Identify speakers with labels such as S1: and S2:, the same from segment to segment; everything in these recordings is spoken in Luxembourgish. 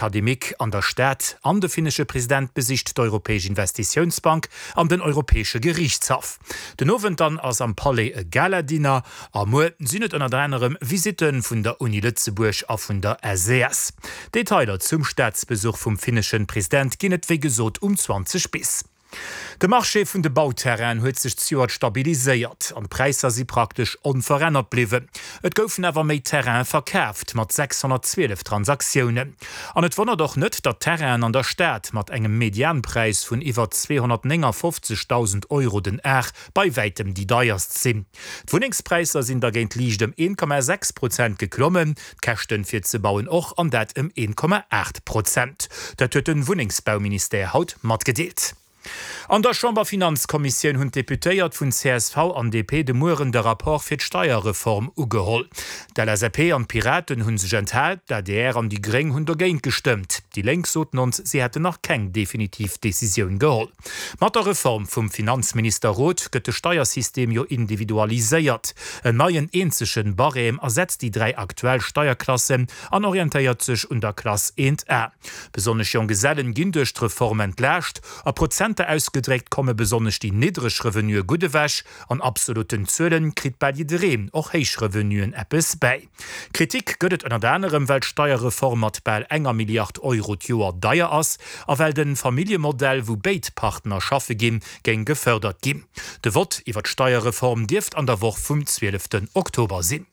S1: Académique an der Stad an de finnesche President besicht d'Europäesch Investitiounsbank an den Europäesche Geriichtshaff. Den Owend dann ass am Palais e Gala-Dinner a muer sinn et ënnert anerem Visitte vun der Uni Lëtzebuerg a vun der SES. Detailer zum Staatsbesuch vum finneschen President ginn et wéi gesot um 20 bis. De Marché vun de Bauterrainen huet sech zejoert stabiliséiert an d'Präisser si praktesch onverännert bliwwen. Et goufen awer méi Terraine verkaaft, mat 612 Transaktiounen. An et wonnert och net, datt Terrainen an der Stad mat engem Medianpräis vun iwwer 259.000 Euro den Ar bei wäitem déi deierst sinn. D'Wunnengspräisser sinn dergéint liicht ëm 1,6 Prozent geklommen, d'Käschten fir ze bauen och, an dat ëm 1,8 Prozent. Dat huet de Wunnengsbauministère haut matgedeelt. An der Chamberfinanzkommissioun hunn d'Deputéiert vun csv an DP de Mueren de Rapport fir d'Steierreform ugeholl. D'LSAP an d'Piraten hu sech enthal, d'ADR an déi Gréng hunn dogéint gestëmmt. Déi Lénk soten ons, si hätten nach keng definitiv Decisioun geholl. Mat der Reform vum Finanzminister Roth gëtt de Steiersystem jo individualiséiert. En neien eenzegen Barème ersetzt déi 3 aktuell Steierklassen an orientéiert sech un der Klass 1 A. Besonnesch Jonggesellen ginn duerch d'Reform entlaascht. A Prozenter ausgedréckt komme besonnesch déi niddreg Revenuë gutt ewech. An absolutten Zuelen kritt bal jiddereen, och héich Revenuen, eppes bäi. Kritik gëtt et ënnert anerem, well d'Steierreform mat bal enger Milliard Euro d'Joer deier ass a well de Familljemodell, wou béid Partner schaffe ginn, géing gefërdert ginn. De Vott iwwer d'Steierreform dierft an der Woch vum 12 Oktober sinn.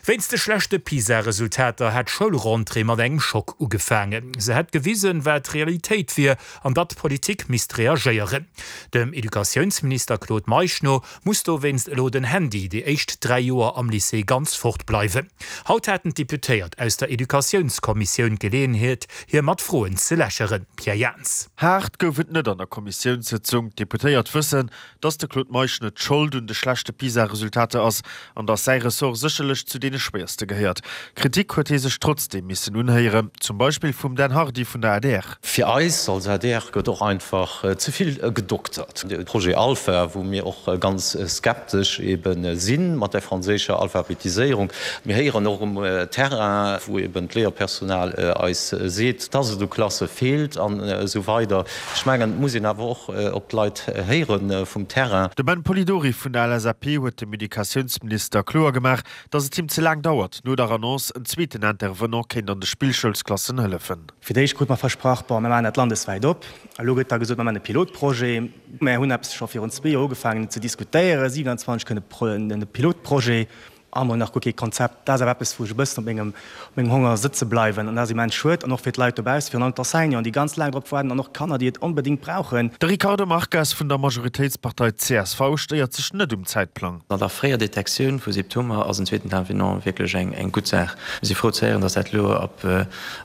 S1: Wéinst de schlechte PISA-Resultater hat d'Schoulrentrée mat engem Schock ugefaangen. Se hätt gewisen, wat Realitéit wier an datt d'Politik misst reagéieren. Dem Educatiounsminister Claude Meisch no muss dowéinst elo den Handy déi éischt 3 Joer am Lycée ganz fort bleiwen. Haut haten d'Deputéiert aus der Educatiounskommissioun d'Geleeënheet, hie mat Froen ze lächeren. Pierre Jans.
S2: Haart gouf et net an der Kommissiounssëtzung. D'Deputéiert wëssen, dass de Claude Meisch net Schold un de schlechte PISA-Resultater ass an dass säi Ressort sécherlech zu deene schwéierste gehéiert. Kritik huet hie sech trotzdeem missen unhéieren, zum Beispill vum Dan Hardy vun der adr.
S3: Fir eis als adr gëtt och einfach ze vill gedoktert. De Projet Alpha, wou mir och ganz skeptesch ebe si mat der franséischer Alphabetiséierung. Mir héieren och um Terrain, wou eben d'Léierpersonal eis seet, dass et u Klasse feelt an esou weider. Ech mengen, et muss een awer och op d'Leit héiere vum Terrain.
S2: De Ben Polidori vun der LSAP huet dem Educatiounsminister kloer gemaach, datt et him ze laang dauert, no der Annonce, en zweeten Intervenant kéint an de Spillschoulsklassen hëllefen.
S4: Fir d'éischt krute mer versprach, bon, mir maachen dat landeswäit op. Elo gëtt da gesot, mir maachen e Pilotprojet. Mer hunn eppes scho virun zwee Joer ugefaangen ze diskutéieren, 27 kënne e Pilotprojet. A mol nach guer kee Konzept. Dat ass awer eppes, wou ech e bëssen op mengem, op mengem Honger sëtze bleiwen. An dat ass immens schued. An och fir d'Leit dobaussen, virun allem d'Enseignanten, déi ganz laang drop waarden, an och d'Kanner, déi et onbedéngt brauchen.
S2: De Ricardo Marques vun der Majoritéitspartei csv stéiert sech net um Zäitplang.
S5: An der fréier Detektioun vu Symptomer ass en zweeten Intervenant wierklech eng gutt Saach. Mir si frou ze héieren, dass dat elo ab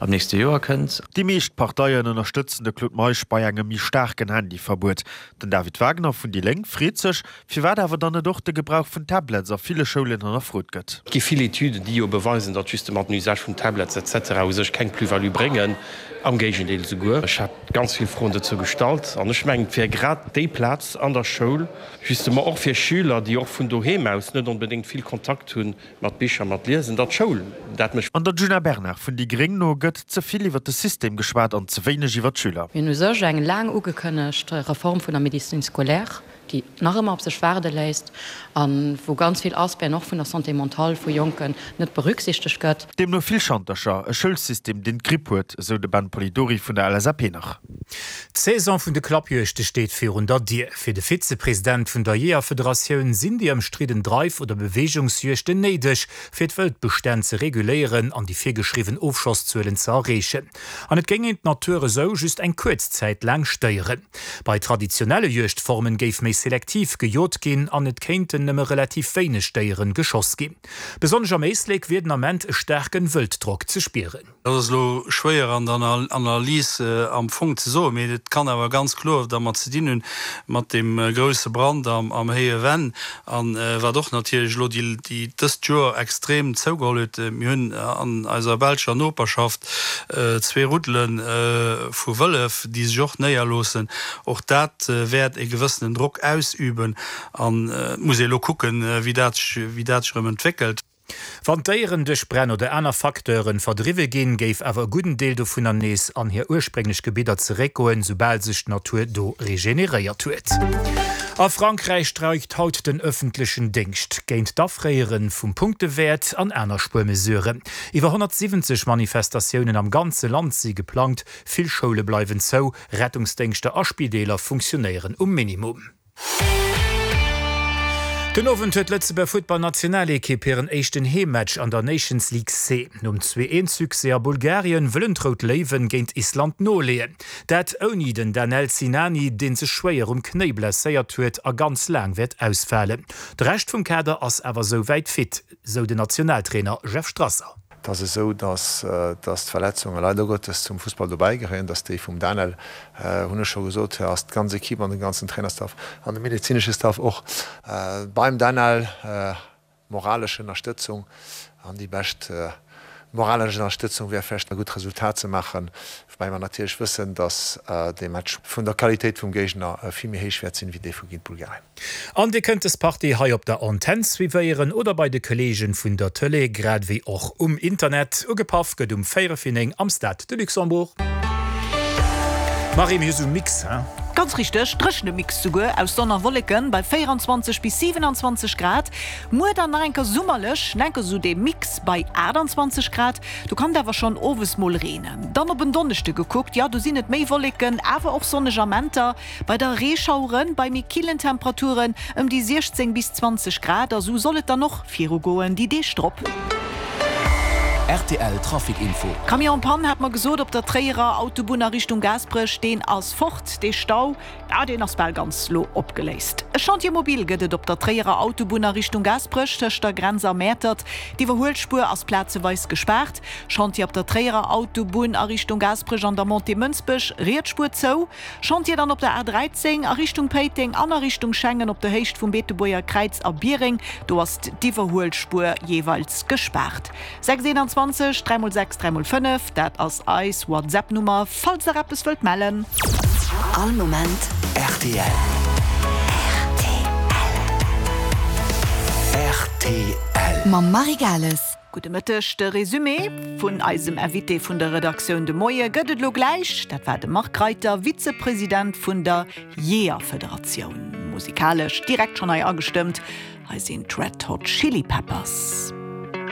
S5: nächste Joer kënnt.
S2: Déi meescht Parteien ënnerstëtzen de Claude Meisch bei engem méi staarken Handyverbuet. Den David Wagner vun déi Lénk freet sech, Firwat awer dann net och de Gebrauch vun Tablets a ville Schoulen hannerfrot gëtt.
S6: Et gi vill Etüden, déi jo beweisen, datt justement den Usage vun Tablets et cetera u sech keng Plus-value bréngen, am Géigendeel esouguer. Ech hat ganz vill Froen dozou gestallt an ech mengen, et wär grad déi Plaz an der Schoul, justement och fir Schüler, déi och vun doheem aus net onbedéngt vill Kontakt hu Mat Bicher, mat Liesen, datt d'Schoul dat mécht.
S2: An der Djuna Bernard vun déi gréng no gëtt ze vill iwwer de System geschwat an ze wéineg iwwer d'Schüler.
S7: Mir hunn u sech eng laang ugekënnegt Reform vun der Médecine scolaire, déi nach ëmmer op sech waarde léisst a wou ganz vill Aspecten och vun der Santé mentale vu Jonken net berücksichtegt gëtt.
S2: Deemno vill Schantercher, e Schoulsystem, deen d'Gripp huet, esou de Ben Polidori vun der LSAP nach.
S1: D'Saison vun de Klappjuegte steet virun der Dier. Fir de Vizepresident vun der Jeeërfederatioun sinn déi ëmstridden Dreif oder Beweegungsjuegten néideg, fir d'Wëldbestänn ze reguléieren an déi virgeschriwwen Ofschosszuelen ze erreechen. An et géing een d'Natur esou just eng kuerz Zäit laang stéieren. Bei traditionelle Juegdformen géif méi selektiv gejot ginn an et kéinten nëmme relativ wéineg Déieren geschoss ginn. Besonnesch am Éislek wier den Ament e staarken Wëlddrock ze spieren.
S8: Dat ass elo schwéier an der Analys am Fong ze soen, mee et kann awer ganz kloer dermat ze dinn hunn, mat deem grousse Brand am Héije Venn a wat och natierlech elo déi dëst Joer extrem zougeholl huet. Mir hunn an eiser belscher Noperschaft zwee Ruddele vu Wëllef, déi sech och néierloossen. Och dat wäert e gewëssenen Drock ausüben an et muss ee elo kucken, wéi dat sech erëm entwéckelt.
S1: Wann d'Déieren duerch Bränn oder aner Facteure verdriwwe ginn, géif awer e gudden Deel dovunner nees an hir ursprénglech Gebidder zeréckgoen, soubal sech d'Natur do regeneréiert huet. A Frankräich streikt haut den ëffentlechen Déngscht géint d'Afréiere vum Punktewäert an aner Spuermesuren. Iwwer 170 Manifestatiounen am ganze Land si geplangt, vill Schoule bleiwen zou, Rettungsdéngschter a Spideeler funktionéieren um Minimum. Den Owend huet d'Lëtzebuerger Futtballnationalekipp hiren éischten Heemmatch an der Nations League C. Nom 2, 1 Succès a Bulgarien wëllen d'Rout Léiwen géint Island noleeën. Dat ouni den Danel Sinani, dee sech schwéier um Knéi blesséiert huet a ganz laang wäert ausfalen. De Rescht vum Kader ass awer souwäit fit, sou den Nationaltrainer Jeff Strasser.
S9: Et ass esou, dass d'Verletzunge leider Gottes zum Fussball dobäi gehéieren, dass déi vum Daniel, hunn ech scho gesot, ass d'ganz Equipe an den ganzen Trainerstaff an de medezinesche Staff och beim Daniel. Moralesch Ënnerstëtzung an déi bescht moralesch Ënnerstëtzung wär vläicht e gutt Resultat ze maachen, woubäi mer natierlech wëssen, dass dee Match vun der Qualitéit vum Géigner vill méi héich wäert sinn, wéi dee vu géint Bulgarien.
S1: An Dir kënnt des Partie hei op der Antenn suivéieren oder bei de Kolleegen vun der Tëlee, grad ewéi och um Internet. Ugepaff gëtt um 4 vir 9 am Stade de Luxembourg. Marie, mir hu sou Mix, hein?
S10: Ganz richteg, dréchene Mix souguer aus Sonn a Wolleken bei 24 bis 27 Grad. Muer dann nach enker summerlech, enker sou dee Mix bei 28 Grad. Do kann et awer schonn owes mol reenen. Dann op en Donneschde gekuckt, jo do sinn et méi Wolleken, awer och sonneg Amenter bei der Reeschaueren, bei méi killen Temperaturen ëm déi 16 bis 20 Grad. A sou soll et dann och virugoen déi Deeg drop.
S11: Rtl Trafic Info.
S10: Camion en panne hat mer gesot op der Tréierer Autobunn a Richtung Gaasperech, deen ass fort, dee Stau. Ah, deen ass bal ganz lo opgeléist. E Chantier mobile gëtt et op der Tréierer Autobunn a Richtung Gaasperech tëscht der Grenz a Mäertert. D'Iwwerhuelspuer ass plazeweis gespaart. Chantier op der Tréierer Autobunn a Richtung Gaasperech an der Montée Mënsbech, riets Spuer zou. Chantier dann op der A 13 a Richtung Péiteng an a Richtung Schengen op der Héicht vum Beetebuerger Kräiz a Biereng. Do ass d'Iwwerhuelspuer jeeweils gespaart. 6 21 3 mol 6 3 mol 5, dat ass eis WhatsApp Nummer falls der eppes wëllt mellen.
S11: All Moment rtl. Rtl.
S12: Mam Marie Gales.
S10: Gudde Mëtteg, de Résumé vun eisem Invité vun der Redaktioun de Moie gëtt et elo gläich. Dat war de Marc Reiter, Vizepresident vun der Jeeërfederatioun. Musikalesch direkt schonn hei agestëmmt, hei sinn d'Red Hot Chili Peppers.